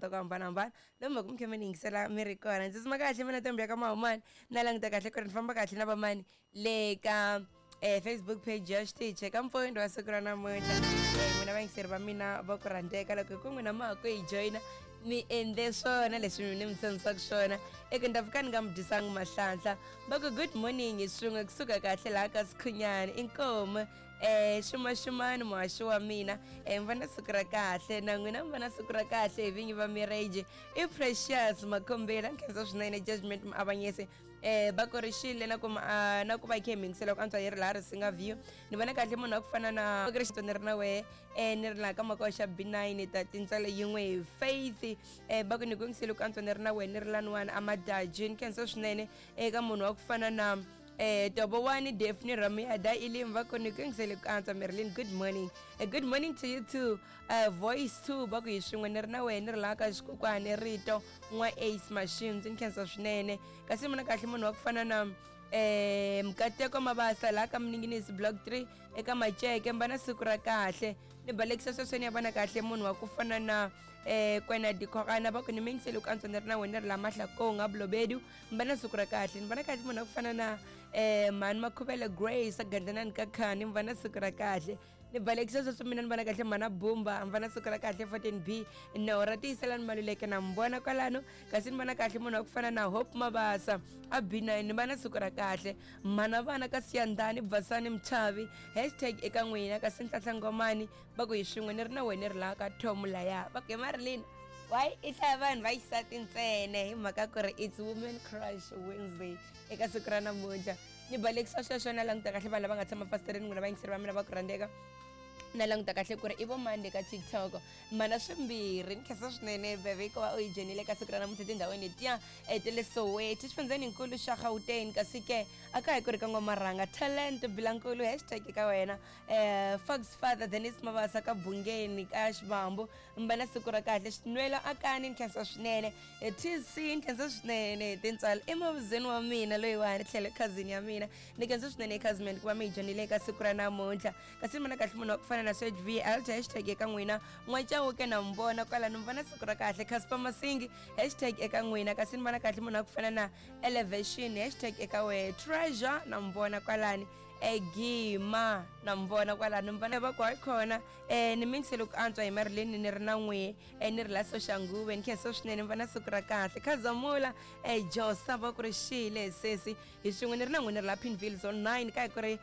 ta ku hambanahambana lomu va ku mi kha mi ni yingisela mi ri kona. Ndzi tsutsuma kahle mina Ntombi ya ka Mahumani, na languta kahle ku ri ni famba kahle na vamani le ka Facebook page ya xitichi eka mpfundo wa siku ra namuntlha. N'wina vayingiseri va mina va ku rhandzeka, loko hi ku n'wina ma ha ku hi joyina, mi endle swona leswi ni mi tshembisaka swona. Eka ni ta fika ni nga mi dyisangi mahlanhla. Va ku good morning swin'we kusuka kahle laha ka Sikhunyani, inkomu. Xumaxumani muhaxi wa mina, mi va na siku ra kahle na n'wina, mi va na siku ra kahle hi vinyi va marriage. I Precious Makhombela, nkhensa swinene. Judgment Muavanyisi, va ku ri xile na ku na ku va khe mingisela ku antswa yi ri laha Risinga View. Ni vona kahle munhu wa ku fana na ku ri ni ri na wehe, ni ri laha ka makoxa B9 ta tintswalo yin'we hi Faith. Va ku ni ku yingisele ku antswa ni ri na wehe, ni ri laniwani amadaji. Ni khensa swinene eka munhu wa ku fana na Tobowani Daphne Ramuyada Ilim, va ku ni ku yingisele ku antswa. Marilyn, good morning. Good morning to you too. Voice 2, va ku hi swin'we ni ri na wehe, ni ri laha ka xikokwani rito n'wa Ace Machines, ni khensa swinene. Kasi mina kahle munhu wa ku fana na Mkateko Mabasa laha ka Mninginisi Block 3 eka Maceke, mba na siku ra kahle. Ni balekisa swesweni ya vona kahle munhu wa ku fana na Kwena Dikhogana, va ku ni mingisele ku antswa ni ri na wena, ni ri la Mahlakong a Bolobedu, mba na siku ra kahle. Ni vona kahle munhu wa ku fana na Mhani Makhuvele Grace Gandlanani ka Khani, mi va na siku ra kahle. Ni balekisa sweswo mina ni vona kahle mhana Bumba, mi va na siku ra kahle. 14 B no ra tiyiselani Maluleke na mi vona kwalano. Kasi ni vona kahle munhu wa ku fana na Hope Mabasa a B9, ni va na siku ra kahle. Mhana vana ka Siyandhani Basani Mchavi, hashtag eka n'wina. Kasi Nhlahla Ngomani, va ku hi swin'we ni ri na wena, ri laha ka Tom laya. Va ku hi Marilyn, why i hlaya vanhu va xisati ntsena? Hi mhaka ku ri it's Women Crush Wednesday eka siku ra namuntlha. Ni balekisa sweswo, na languta kahle vanhu lava nga tshama fasitereni, n'wina vayingiseri va mina va ku rhandzeka. Na languta kahle ku ri i vo mani le ka TikTok. Mana swimbirhi, ni khensa swinene bebe ku va u yi joyinile ka siku ra namuntlha tindhawini letiya ta le Soweto, xifundzheninkulu xa Gauteng. Kasi ke a ka hi ku ri ka N'wamarhanga Talent Bilankulu, hashtag ka wena. Fox Father Denis Mabasa ka Bungeni ka Xivambu, mba na siku ra kahle. Xinwelo Akani, ni khensa swinene. TC, ni khensa swinene. Tintswalo i mavuzeni wa mina loyiwani tlhelo cousin ya mina, ni khensa swinene cousin ku va mi hi joyinile ka siku ra namuntlha. Kasi ni vona kahle munhu wa ku fana na Serge V Alt, hashtag eka n'wina. N'wachawuke na mi vona kwalano, mi vona siku ra kahle. Casper Masingi, hashtag eka n'wina. Kasi ni vona kahle munhu wa ku fana na Elevation, hashtag eka wehe. Treasure na mi vona kwalani. Egima na mi vona kwalano, mi vona va ku hayi khona. Ni mingisele ku antswa hi Marilyn ni ri na n'wihe, ni ri la Soshanguve, ni khensa swinene, mi va na siku ra kahle. Khazamula Josa, va ku ri xile sesi, hi swin'we ni ri na n'wina, ri la Pinville Zone 9 ka hi ku ri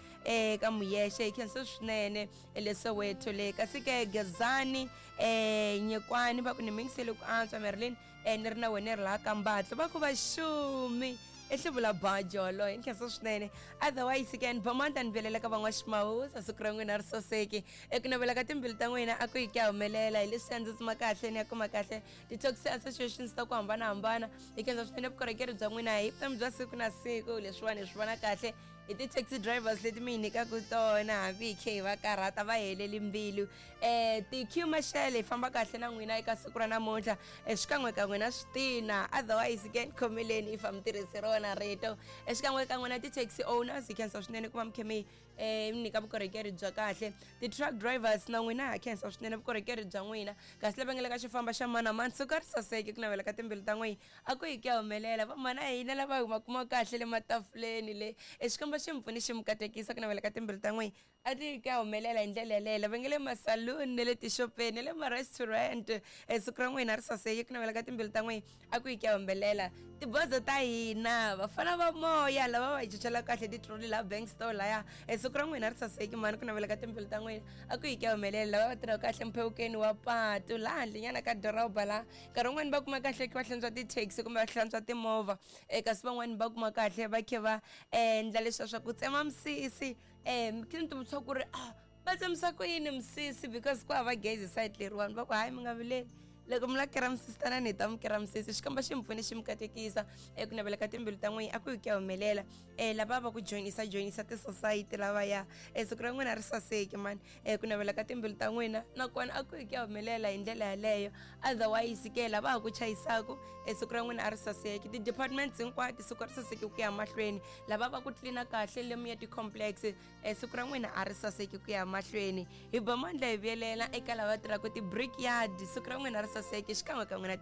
ka Muyexe, hi khensa swinene le Soweto le. Kasi ke Gezani Nyekwani, va ku ni mingisele ku antswa Marilyn, ni ri na wena, ri laha ka Mbatlo. Va ku va xumi ehluvula bajolo, hi nkhensa swinene. Otherwise ke ni bomanta ni velela ka van'waximawusa, siku ra n'wina ri soseki. Eku navela ka timbilu ta n'wina a ku yi ku ya humelela hi leswi ndzi tsuma kahle ni ya kuma kahle ti-taxi associations ta ku hambanahambana. Hi khensa swinene vukorhokeri bya n'wina hi vutomi bya siku na siku. Leswiwani hi swi vona kahle hi ti-taxi drivers leti mi hi nyikaka tona, hambi hi khe hi va karhata va heleli mbilu. Ti-q mashele, hi famba kahle na n'wina eka siku ra namuntlha, xikan'wekan'we na switina. Otherwise ke ni khomeleni if a mi tirhisi rona rito. Xikan'wekan'we na ti-taxi owners, hi khensa swinene ku va mi khe mi mi nyika vukorhokeri bya kahle. Ti-truck drivers na n'wina ha khensa swinene vukorhokeri bya n'wina. Kasi lava nga le ka xifamba xa mani na mani, suka ri saseke. Ku navela ka timbilu ta n'wina a ku yi ku ya humelela. Vamhana hina lava hi kuma kahle le matafuleni le, xikwembu xi mi pfuni xi mi katekisa. Ku navela ka timbilu ta n'wina a ti yi ku ya humelela hi ndlela yaleyo. Lava nga le masaluni na le tixopeni na le ma-restaurant, siku ra n'wina ri saseke. Ku navela ka timbilu ta n'wina a ku yi ku ya humelela. Tibozo ta hina, vafana va moya lava va hi chochela kahle titroli laha bank store laya, siku ra n'wina ri saseki mani. Ku navela ka timbilu ta n'wina a ku yi ku ya humelela. Lava va tirhaka kahle mphewukeni wa patu laha handlenyana ka doroba laha, nkarhi wun'wani va kuma kahle va hlantswa ti-taxi kumbe va hlantswa timovha, kasi van'wani va kuma kahle va khe va endla leswiya swa ku tsema misisi. Khe ni tivutisa ku ri a va tsemisa ku yini misisi, because ku hava gezi side leriwani. Va ku hayi, mi nga vileli, loko mi la kera misisi tanani hi ta mi kera misisi. Xikomba xi mi pfuni xi mi katekisa. Eku navela ka timbilu ta n'wina a ku yi ku ya humelela. Lava va ku joyinisa joyinisa ti-society lavaya, siku ra n'wina ri saseki mani. Ku navela ka timbilu ta n'wina nakona a ku yi ku ya humelela hi ndlela yaleyo. Otherwise ke lava ha ku chayisaku, siku ra n'wina a ri saseki. Ti-departments hinkwato, siku ri saseki ku ya mahlweni. Lava va ku tlilina kahle lomu ya ti-complex, siku ra n'wina a ri saseki ku ya mahlweni. Hi ba mandla hi vuyelela eka lava tirhaka ti-brickyard, siku ra n'wina ri saseki xikan'we kan'we na ti.